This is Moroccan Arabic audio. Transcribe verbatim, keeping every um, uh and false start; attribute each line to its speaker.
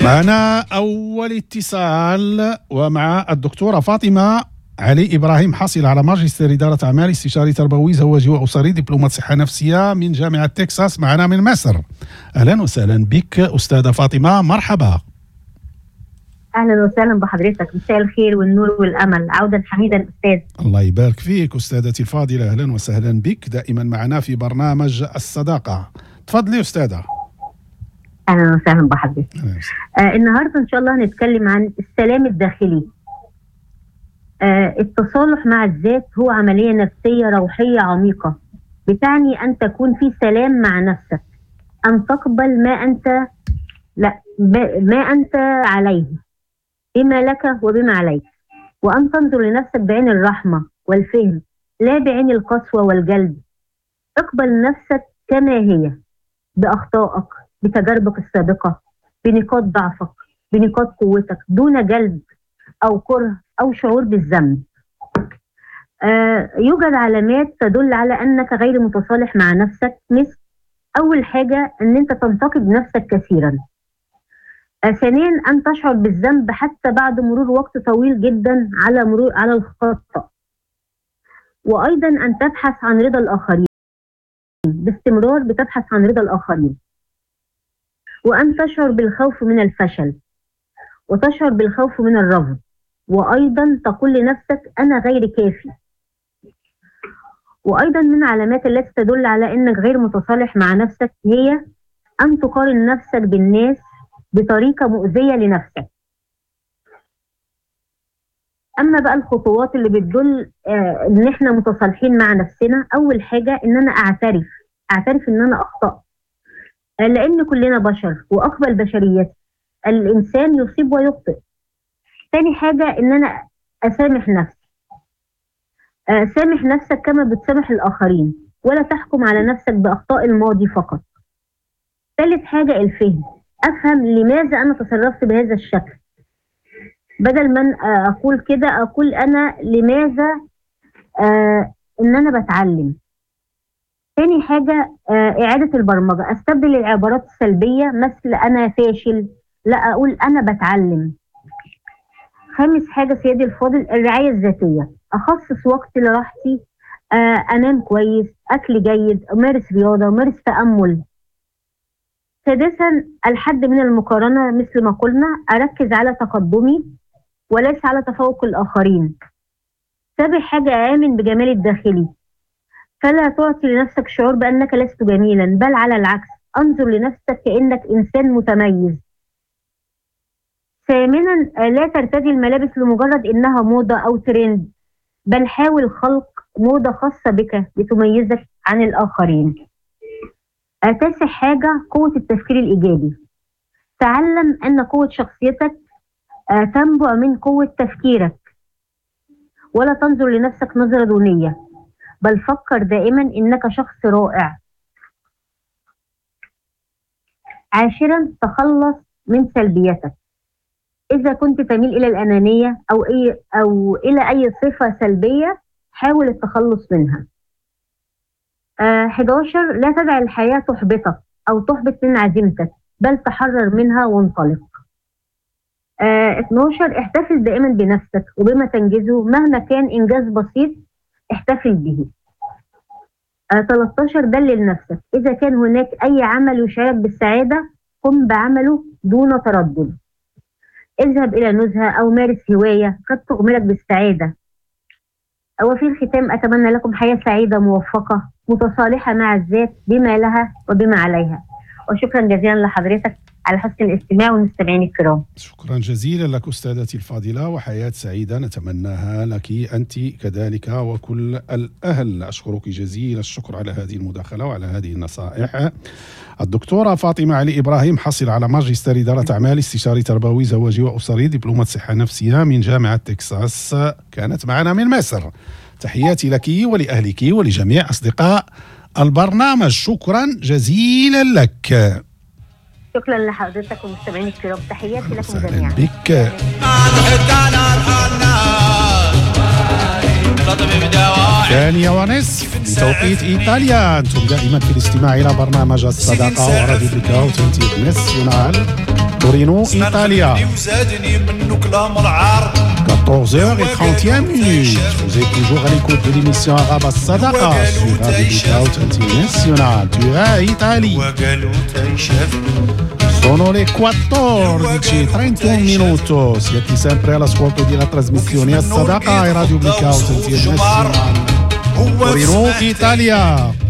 Speaker 1: معنا أول اتصال ومع الدكتورة فاطمة علي إبراهيم، حاصلة على ماجستير إدارة أعمال، استشاري تربوي زواجي وأسري، دبلومة صحة نفسية من جامعة تكساس، معنا من مصر. أهلا وسهلا بك أستاذة فاطمة، مرحبا.
Speaker 2: اهلا وسهلا بحضرتك، مساء الخير والنور والامل، عودا حميدا استاذ.
Speaker 1: الله يبارك فيك أستاذتي الفاضلة، أهلا وسهلا بك دائما معنا في برنامج الصداقة. تفضلي أستاذة.
Speaker 2: اهلا وسهلا بحضرتك. آه النهارده ان شاء الله هنتكلم عن السلام الداخلي. آه التصالح مع الذات هو عملية نفسية روحية عميقة، بتعني ان تكون في سلام مع نفسك، ان تقبل ما انت لا ما انت عليه، بما لك وبما عليك، وأن تنظر لنفسك بعين الرحمة والفهم، لا بعين القسوة والجلد. اقبل نفسك كما هي، بأخطائك، بتجاربك السابقة، بنقاط ضعفك، بنقاط قوتك، دون جلد أو كره أو شعور بالذنب. آه يوجد علامات تدل على أنك غير متصالح مع نفسك، مثل أول حاجة أن أنت تنتقد نفسك كثيرا. ثانيا أن تشعر بالذنب حتى بعد مرور وقت طويل جدا على مرور على الخطأ. وأيضا أن تبحث عن رضا الآخرين باستمرار، بتبحث عن رضا الآخرين. وأن تشعر بالخوف من الفشل، وتشعر بالخوف من الرفض، وأيضا تقول لنفسك أنا غير كافي. وأيضا من علامات التي تدل على أنك غير متصالح مع نفسك هي أن تقارن نفسك بالناس بطريقة مؤذية لنفسك. أما بقى الخطوات اللي بتدل آه إن إحنا متصالحين مع نفسنا، أول حاجة إن أنا أعترف، أعترف إن أنا أخطأت، آه لأن كلنا بشر وأقبل بشريتي، الإنسان يصيب ويخطئ. تاني حاجة إن أنا أسامح نفسي، آه سامح نفسك كما بتسامح الآخرين، ولا تحكم على نفسك بأخطاء الماضي فقط. ثالث حاجة الفهم، أفهم لماذا أنا تصرفت بهذا الشكل، بدل من أقول كده أقول أنا لماذا آه إن أنا بتعلم. تاني حاجة آه إعادة البرمجة، أستبدل العبارات السلبية مثل أنا فاشل، لا أقول أنا بتعلم. خامس حاجة سيدي الفاضل الرعاية الذاتية، أخصص وقت لراحتي، آه أنام كويس، أكل جيد، أمارس رياضة، أمارس تأمل. سادسا الحد من المقارنة، مثل ما قلنا أركز على تقدمي وليس على تفوق الآخرين. سابع حاجة آمن بجمالي الداخلي، فلا تعطي لنفسك شعور بأنك لست جميلا، بل على العكس انظر لنفسك كأنك إنسان متميز. ثامنا لا ترتدي الملابس لمجرد إنها موضة أو ترند، بل حاول خلق موضة خاصة بك لتميزك عن الآخرين. تاسع حاجة قوة التفكير الإيجابي، تعلم أن قوة شخصيتك تنبع من قوة تفكيرك، ولا تنظر لنفسك نظرة دونية، بل فكر دائما إنك شخص رائع. عاشرا تخلص من سلبيتك، إذا كنت تميل إلى الأنانية أو, أي أو إلى أي صفة سلبية حاول التخلص منها. أحد عشر لا تدع الحياة تحبطك أو تحبط من عزيمتك، بل تحرر منها وانطلق. اثنا عشر احتفل دائما بنفسك وبما تنجزه، مهما كان إنجاز بسيط احتفل به. ثلاثة عشر دلل نفسك، إذا كان هناك أي عمل يشعرك بالسعادة قم بعمله دون تردد. اذهب إلى نزهة أو مارس هواية قد تغمرك بالسعادة. وفي الختام أتمنى لكم حياة سعيدة موفقة متصالحة مع الذات بما لها وبما عليها، وشكرا جزيلا لحضرتك على حسن الاستماع والمستمعين الكرام.
Speaker 1: شكرا جزيلا لك أستاذتي الفاضلة، وحياة سعيدة نتمناها لك أنت كذلك وكل الأهل. أشكرك جزيل الشكر على هذه المداخلة وعلى هذه النصائح. الدكتورة فاطمة علي إبراهيم، حصل على ماجستير إدارة أعمال، استشاري تربوي زواجي وأسري، دبلومة صحة نفسية من جامعة تكساس، كانت معنا من مصر. تحياتي لك ولأهلك ولجميع أصدقاء البرنامج، شكرا جزيلا لك.
Speaker 2: شكرا لحضرتك ومستمعين الكرام، تحياتي لكم جميعا.
Speaker 1: بك. ثانية ونصف بتوقيت إيطاليا. أنتم دائما في الاستماع إلى برنامج الصداقة وراديو بريكاو تنتيب ناسيونال. Torino, Italia. quatorze heures trente et une minutes. Vous êtes toujours à l'écoute de l'émission Arabe Sadaqa sur Radio Blackout International. Turin, Italie. Sono le quattordici e trentuno minuto. Siete sempre all'ascolto della trasmissione As Sadaqa e Radio Blackout International. Torino, Italia.